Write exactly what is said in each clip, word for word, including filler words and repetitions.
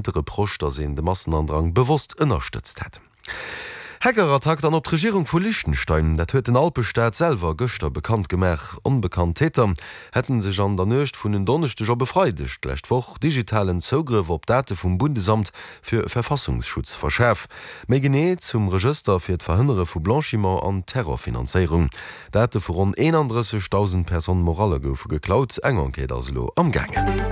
De Reproche, datt een de Massenandrang bewosst ënnerstëtzt hätt. Hackerattack dann op d'Regierung vu Liechtenstein, dat huet den Alpestaat selwer gëschter bekannt gemaach. Onbekannt Täter hätte sech an der Nuecht vun en Donneschdeg op e Freideg d'lescht Woch digitalen Zougrëff op Date vum Bundesamt für Verfassungsschutz verschaf. Méi genee zum Regëster fir d'Verhënnere vu Blanchiment an Terrorfinanzéierung. Date vu ronn eenandrëssegdausend Personnes morales goufe geklaut. Eng Enquête ass elo amgaangen.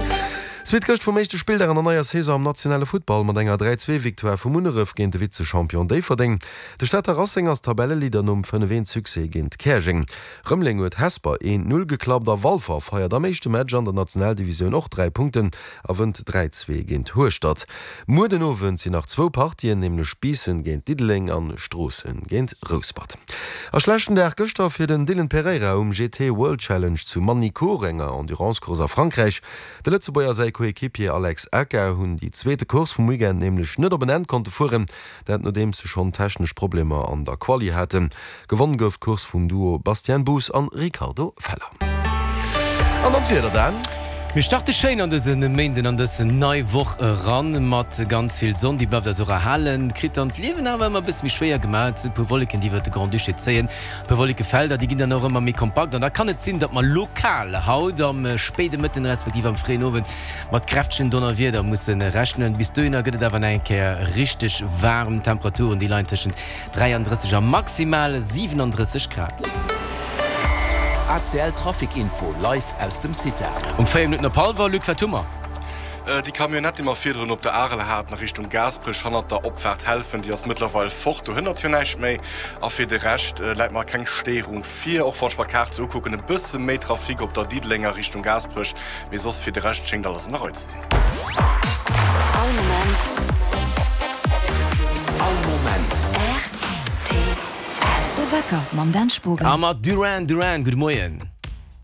Zweet gëscht vum éischte Spilldag an der neier Saison am nationale Futtball mat enger dräi zwee Victoire vu Munneref géint de Vize-Champion Déifferdeng. De Stater Racing ass Tabelleleader nom fënnef eent Succès géint Käerjeng. Rëmeleng huet Hesper een Null geklappt a Walfer feiert am éischte Match an der Nationaldivisioun och dräi Punkten a wënnt dräi zwee géint Hueschtert. Muer den Owend sinn nach zwou Partien, nämlech Biissen géint Diddeleng an Stroossen géint Rouspert. A schlechten Dag gëschter fir den Dylan Pereira um G T World Challenge zu Magny-Cours, enger Endurance-Course a Frankräich. De Lëtzebuerger a säi Coéquipier Alex Aka hunn déi zweete Course vum Weekend nämlech net op en Enn konnte fueren, dat nodeems se schonn technesch Problemer an der Quali haten. Gewonn gouf d'Course vum Duo Bastien Boos an Ricardo Feller. An dann d'Wieder, Dan. Mir starte schéin an dëse Méinden an dës nei Woch eran mat ganz vill Sonn, déi bleift eis och erhalen, kritt dann d'Liewen awer ëmmer e bësse méi schwéier gemaach. Et sinn e puer Wolleken, déi iwwert de Grand-Duché zéien, e puer Wollekefelder, déi ginn dann och ëmmer méi kompakt an da kann et sinn, datt mer lokal haut am spéide Mëtten respektiv am fréien Owend mat kräftegen Donnerwieder musse rechnen. Bis dohinner gëtt et awer nach eng Kéier richteg waarm. Temperaturen, déi leien tëschent dräiandrësseg a maximal siwenandrësseg Grad. A C L Trafic Info live aus dem CITA. Um véier Minutten op hallwer, Luc, wat hu mer? Déi Camionnette, déi mer virdrun op der Arel haten a Richtung Gaasperech hannert der Opfaart Helfen, déi ass mëttlerweil fort, do hënnert jo näischt méi. A fir de Rescht läit mer keng Stéierung vir, och wann ech mer d'Kaart sou ukucken, e bësse méi Trafic op der Diddelenger Richtung Gaasperech, mee soss fir de Rescht schéngt alles an der Rei ze sinn. All Moment. All Moment. R T L. De Wecker mam Dan Spogen. A mat Duran Duran. Gudde Moien.